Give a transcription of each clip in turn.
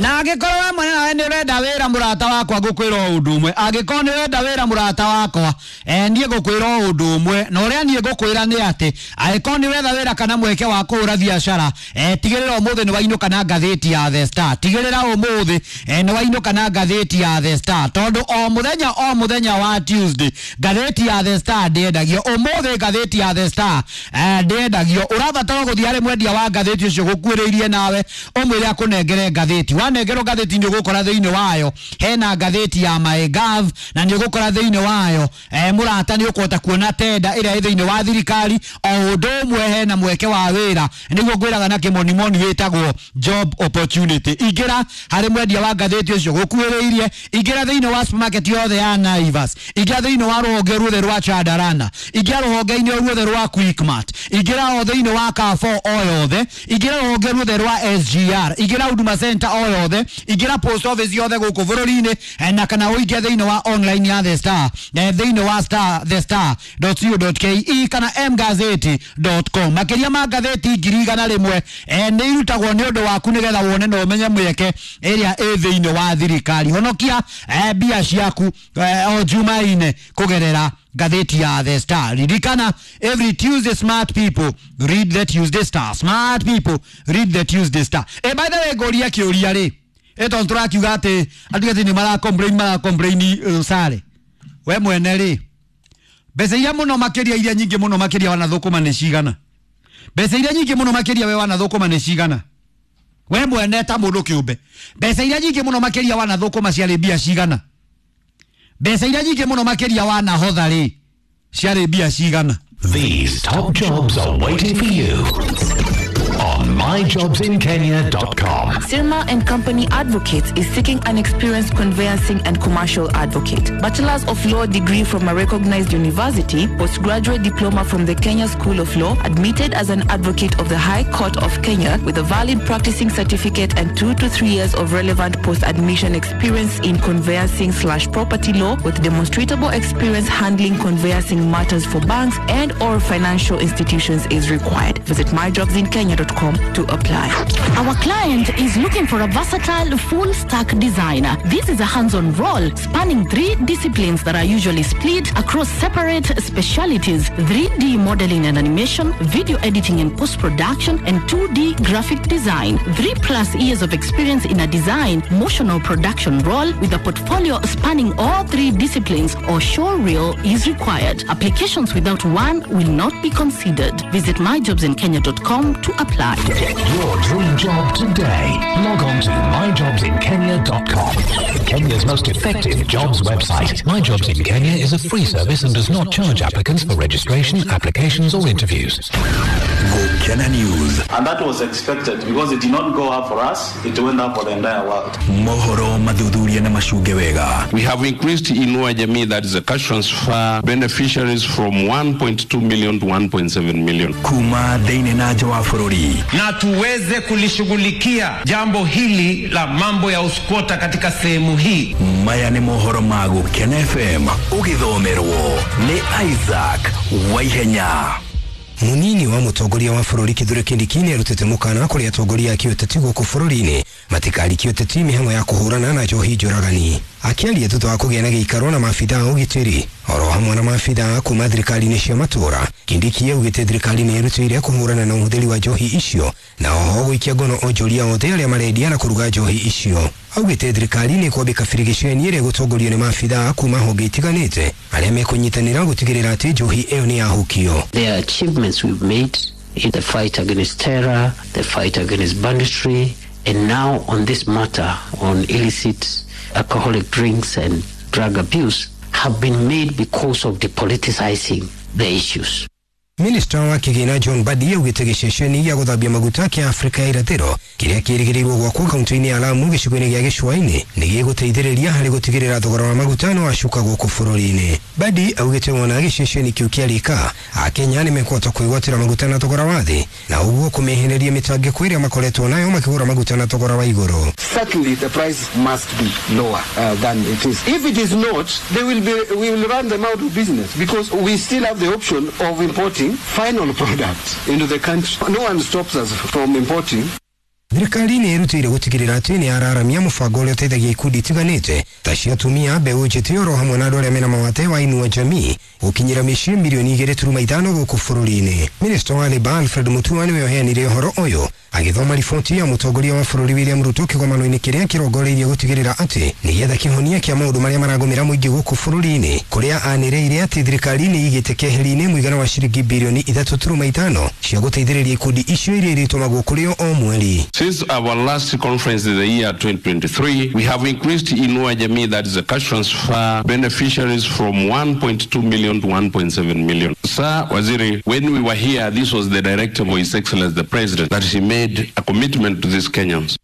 Na angĩkorwo we mwene nawe nĩ ũrenda wĩra mũrata wakwa, ngũkwĩra o ũndũ ũmwe. Angĩkorwo nĩ ũrenda wĩra mũrata wakwa, niĩ ngũkwĩra o ũndũ ũmwe, na ũrĩa niĩ ngũkwĩra nĩ atĩ angĩkorwo nĩ ũretha wĩra kana mweke wa kũhũra biacara, tigĩrĩra ũmũthĩ nĩ wainũka na ngathĩti ya The Star. Tigĩrĩra ũmũthĩ nĩ wainũka na ngathĩti ya The Star, tondũ o mũthenya o mũthenya wa Tuesday ngathĩti ya The Star ndĩendagio. Ũmũthĩ ngathĩti ya The Star ndĩendagio. Ũrabatara gũthiĩ harĩ mwendia wa ngathĩti ũcio gũkuĩrĩirie nawe ũmwĩre akũnengere ngathĩti. Wanengerwo ngathĩti nĩ ũgũkora thĩinĩ wayo hena ngathĩti ya MyGov, na nĩ ũgũkora thĩinĩ wayo mũrata nĩ ũkũhota kuona tenda ĩrĩa ĩ thĩinĩ wa thirikari. O ũndũ ũmwe hena mweke wa wĩra, nĩguo ngwĩraga na kĩmonimoni wĩtagwo job opportunity. Ingĩra harĩ mwendia wa ngathĩti ũcio gũkuĩrĩirie, ingĩra thĩinĩ wa supermarket yothe ya Naivas, ingĩra thĩinĩ wa rũhonge ruothe rwa Chandarana, ingĩra rũhonge-inĩ ruothe rwa Quickmart, ingĩra o thĩinĩ wa Carrefour o yothe, ingĩra rũhonge ruothe rwa SGR, ingĩra Huduma Center o yothe, ingĩra post office yothe gũkũ bũrũri-inĩ, na kana ũingĩre thĩinĩ wa online ya The Star, thĩinĩ wa star thestar.co.ke kana mgazeti.com. Makĩria ma ngathĩti 100,000 nĩ irutagwo nĩ ũndũ waku nĩgetha wone na ũmenye mweke ĩrĩa ĩ thĩinĩ wa thirikari. Honokia mbia ciaku o Jumaine kũgerera ngathĩti ya The Star. Ririkana, every Tuesday smart people read the Tuesday Star. Smart people read the Tuesday Star. By the way, ngũria kĩũria rĩ, tondũ tũrakiuga atĩ atigati nĩ mara complain sare. We mwene rĩ, mbeca iria mũno makĩria, iria nyingĩ mũno makĩria wanathũkũma nĩ cigana? Mbeca iria nyingĩ mũno makĩria we wanathũkũma nĩ cigana? We mwene ta mũndũ kĩũmbe, mbeca iria nyingĩ mũno makĩria wanathũkũma ciarĩ mbia cigana? Mbeca iria nyingĩ mũno makĩria wanahotha rĩ, ciarĩ mbia cigana? These top jobs are waiting for you on myjobsinkenya.com. Sirma and Company Advocates is seeking an experienced conveyancing and commercial advocate. Bachelor's of Law degree from a recognized university, postgraduate diploma from the Kenya School of Law, admitted as an advocate of the High Court of Kenya with a valid practicing certificate and 2 to 3 years of relevant post-admission experience in conveyancing/property law with demonstrable experience handling conveyancing matters for banks and or financial institutions is required. Visit myjobsinkenya.com to apply. Our client is looking for a versatile full stack designer. This is a hands-on role spanning three disciplines that are usually split across separate specialities: 3D modeling and animation, video editing and post-production, and 2D graphic design. 3+ years of experience in a design, motion or production role with a portfolio spanning all three disciplines or showreel is required. Applications without one will not be considered. Visit myjobsinkenya.com to apply. Get your dream job today. Log on to myjobsinkenya.com. Kenya's most effective jobs website. My Jobs in Kenya is a free service and does not charge applicants for registration, applications, or interviews. Gukena News. And that was expected because it did not go up for us, it went up for the entire world. Mohoro mathuthuria na macunge wega. We have increased Inua Jamii, that is a cash transfer beneficiaries, from 1.2 million to 1.7 million. Kuma thĩinĩ na nja wa bũrũri. Na tuweze kulishughulikia jambo hili la mambo ya uskwota katika sehemu hii. Maya nĩ mohoro ma Gukena FM ũgĩthomerwo nĩ Isaac Waihenya. Munini wa mutongoria wa bũrũri Kithure Kindiki nĩ arutĩte mũkana kũrĩ atongoria a kĩũteti gũkũ bũrũri-inĩ matikarikie ũteti mĩhang'o ya kũhũrana na njohi njũragani. Akĩaria thutha wa kũgĩa na gĩikaro na maabitha a ũgitĩri oro hamwe na maabitha kuma thirikari-inĩ cia matũũra, Kindiki augĩte thirikari nĩ ĩrutĩire kũhũrana na ũhũthĩri wa njohi icio na oho gũikia ngono onjoria othe arĩa marendia na kũruga njohi icio. Augĩte thirikari nĩ ĩkwambĩka birigiceni ĩrĩa ĩgũtongorio nĩ maabitha kuma honge itiganĩte arĩa mekũnyitanĩra gũtigĩrĩra atĩ njohi ĩyo nĩ yahukio. There are achievements we've made in the fight against terror, the fight against banditry, and now on this matter on illicit alcoholic drinks and drug abuse have been made because of depoliticizing the issues. Minista wa kĩgĩna John Mbadi augĩte gĩceceni gĩa gũthambia maguta kĩa Afrika ya Irathĩro kĩrĩa kĩrĩgĩrĩirwo gwakwo kaunti-inĩ ya Lamu gĩcigo-inĩ gĩa Gĩcũa-inĩ nĩ gĩgũteithĩrĩria harĩ gũtigĩrĩra thogora wa maguta nĩ wacuka gũkũ bũrũri-inĩ. Mbadi augĩte wona gĩceceni kĩu kĩarĩka, Akenya nĩ mekũhota kwĩgwatĩra maguta na thogora wa thĩ na ũguo kũmehereria mĩtangĩko ĩrĩa makoretwo nayo makĩgũra maguta na thogora wa igũrũ. Certainly the price must be lower than it is. If it is not, they will be, we will run them out of business because we still have the option of importing final products into the country. No one stops us from importing. Thirikari nĩ ĩrutĩire gũtigĩrĩra atĩ nĩ yararamia mũbango ũrĩa ũteithagia ikundi itiganĩte ta cia atumia, mbeũ njĩthĩ oro hamwe na andũ arĩa mena mawathe wa Inua Jamii gũkinyĩra mĩciĩ mirioni 2.5 gũkũ bũrũri-inĩ. Minista wa Labour Alfred Mutua nĩwe ũheanire ũhoro ũyũ agĩthoma riboti ya mũtongoria wa bũrũri William Ruto kĩgomano-inĩ kĩrĩa kĩrongoreirie gũtigĩrĩra atĩ nĩgetha kĩhonia kĩa maũndũ marĩa maragũmĩra mũingĩ gũkũ bũrũri-inĩ, kũrĩa anĩrĩire atĩ thirikari nĩ ĩigĩte keheri-inĩ mũigana wa ciringi birioni 3.5 cia gũteithĩrĩria ikundi icio iria irĩtũmagwo kũrĩ o o mweri. Since our last conference in the year 2023, we have increased Inua Jamii, that is a cash transfer beneficiaries, from 1.2 million to 1.7 million. Sir Waziri, when we were here, this was the directive of His Excellency the President, that he made a commitment to these Kenyans.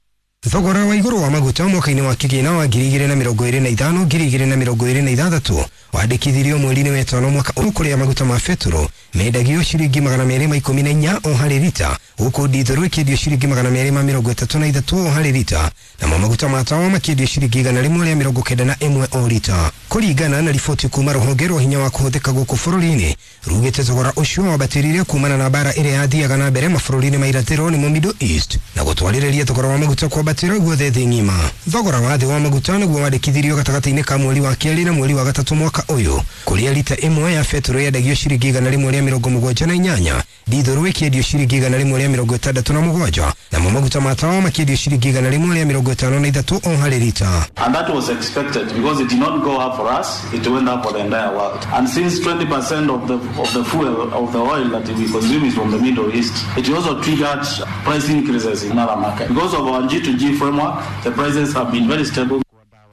Thogora wa igũrũ wa maguta mwaka-inĩ wa kĩgĩna wa 2025 2026 wandĩkithirio mweri-inĩ wa ĩtano mwaka ũyũ, kũrĩa maguta ma betũrũ mendagio ciringi 214 o harĩ rita, gũkũ ndithũrũ ĩkĩendio ciringi 233 o harĩ rita, namo maguta ma tawa makĩendio ciringi 191 o rita. Kũringana na riboti kuma rũhonge rwa hinya wa kũhũthĩka gũkũ bũrũri-inĩ, rugĩte thogora ũcio wambatĩrire kumana na mbara ĩrĩa yathiaga na mbere mabũrũri-inĩ ma irathĩro nĩmo Middle East, na gũtwarĩrĩria thogora wa maguta kwambatĩra guothe thĩ ng'ima. Thogora wa thĩ wa maguta nĩguo wandĩkithirio gatagatĩ-inĩ ka mweri wa kerĩ na mweri wa gatatũ mwaka ũyũ, kũrĩa rita ĩmwe ya betũrũ yendagio ciringi 178, ndithũrũ ĩkĩendio ciringi 167, namo maguta ma tawa makĩendio ciringi 153 o harĩ rita. And that was expected because it did not go up for us, it went up for the entire world. And since 20% of the fuel, of the oil that we consume is from the Middle East, it also triggered price increases in other markets. Because of our G2G framework, the prices have been very stable.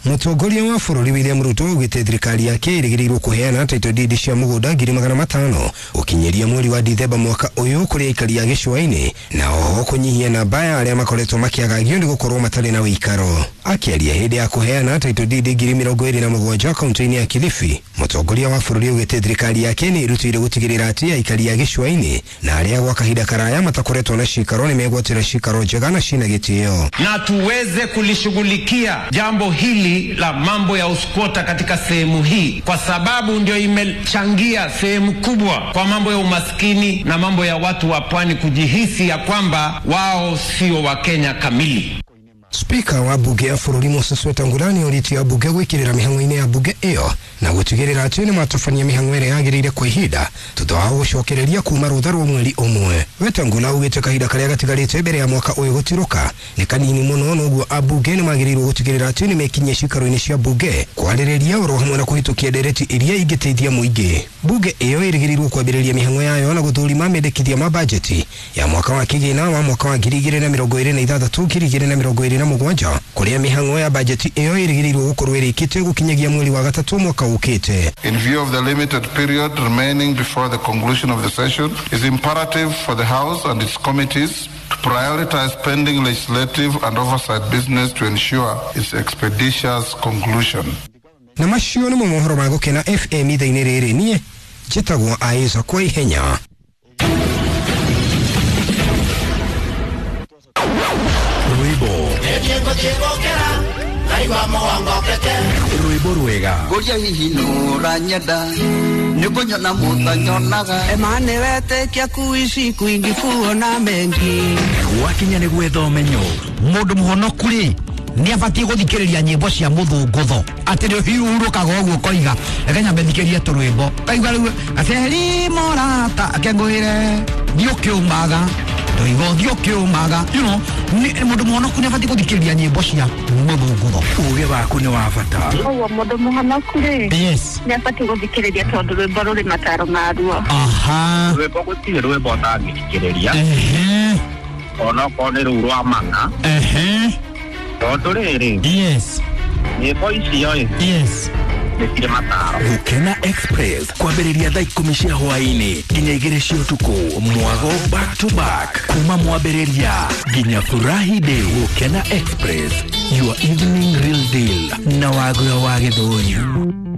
Mũtongoria wa bũrũri William Ruto augĩte thirikari yake ĩrĩgĩrĩirwo kũheana title deed cia mũgũnda 500,000 gũkinyĩria mweri wa Dithemba mwaka ũyũ kũrĩ aikari a gĩcũa-inĩ, na oho kũnyihia namba ya arĩa makoretwo makĩagagio nĩ gũkorwo matarĩ na ũikaro. Akĩaria hĩndĩ ya kũheana title deed 27,000 kaunti-inĩ ya Kilifi, mũtongoria wa bũrũri augĩte thirikari yake nĩ ĩrutĩire gũtigĩrĩra atĩ aikari a gĩcũa-inĩ na arĩa gwa kahinda karaya matakoretwo na cikaro nĩ megwatĩra cikaro njega na cina gĩtĩo. Na tuweze kulishughulikia jambo hili la mambo ya uskwota katika sehemu hii, kwa sababu ndio imechangia sehemu kubwa kwa mambo ya umaskini na mambo ya watu wa pwani kujihisi ya kwamba wao sio wa Kenya kamili. Spika wa bunge ya bũrũri Moses Wetangula nĩorĩtie ambunge gwĩkĩrĩra mĩhang'o-inĩ ya bunge ĩyo na gũtigĩrĩra atĩ nĩmatabania mĩhang'o ĩrĩa yagĩrĩire kwa ihinda thutha wa gũcokereria kuma rũtha rwa mweri ũmwe. Wetangula augĩte kahinda karĩa gatigarĩte mbere ya mwaka ũyũ gũtirũka nĩ kanini mũno, noguo ambunge nĩmagĩrĩirwo gũtigĩrĩra atĩ nĩmekinyia ciikaro-inĩ cia bunge kwarĩrĩria oro hamwe na kũhĩtũkia ndereti iria ingĩteithia mũingĩ. Bunge ĩyo ĩrĩgĩrĩirwo kwambĩrĩria mĩhang'o yayo na gũthũrima mendekithia ma bajeti ya mwaka wa kĩgĩna wa mwaka wa 2026 2027, kũrĩa mĩhang'o ya bajeti ĩyo ĩrĩgĩrĩirwo gũkorwo ĩrĩkĩte gũkinyagia mweri wa gatatũ mwaka ũkĩte. In view of the limited period remaining before the conclusion of the session, it is imperative for the House and its committees to prioritize pending legislative and oversight business to ensure its expeditious conclusion. Na macio nĩmo mohoro ma Gũkena FM ithaa-inĩ rĩrĩ. Niĩ njĩtagwo Aisa kwa ihenya. Rwĩmbo rwĩmbo rwega ngũria hihi nũranyenda nĩngũnyona mũtanyonaga Emane wetĩkia kuishi kwingi kuona mengi gwakinya nĩ gwetha ũmenyo. Mũndũ mũhonoku rĩ nĩ abatiĩ gũthikĩrĩria nyĩmbo cia mũthũngũtho atĩ nĩ ũhurũkaga ũguo ũkoiga reke nyambe thikĩrie tũrwĩmbo kaigua rĩu aceri morata akengũĩre thiĩ ũkĩũmaga ndoigo thiĩ ũkĩũmaga, you know, mũndũ mũhonoku nĩ abatiĩ gũthikĩrĩria nyĩmbo cia mũthũngũtho. Ũgĩ waku nĩ wa bata. Ũguo mũndũ mũhonoku rĩ, yes, nĩ abatiĩ gũthikĩrĩria tondũ rwĩmbo rũrĩ mataro maruo. Aha, rwĩmbo gũtirĩ rwĩmbo ũtangĩthikĩrĩria, onokorwo nĩ rũu rwa mana, tondũ rĩrĩ, yes, nyĩmbo icio ĩ, yes, nĩ cirĩ mataro. Gũkena Express kwambĩrĩria thaa 10 cia hwaĩ-inĩ nginya 2 cia ũtukũ, mwago back to back kuma mwambĩrĩria nginya furahi day. Gũkena Express, your evening real deal na Wagũra wa Gĩthũri.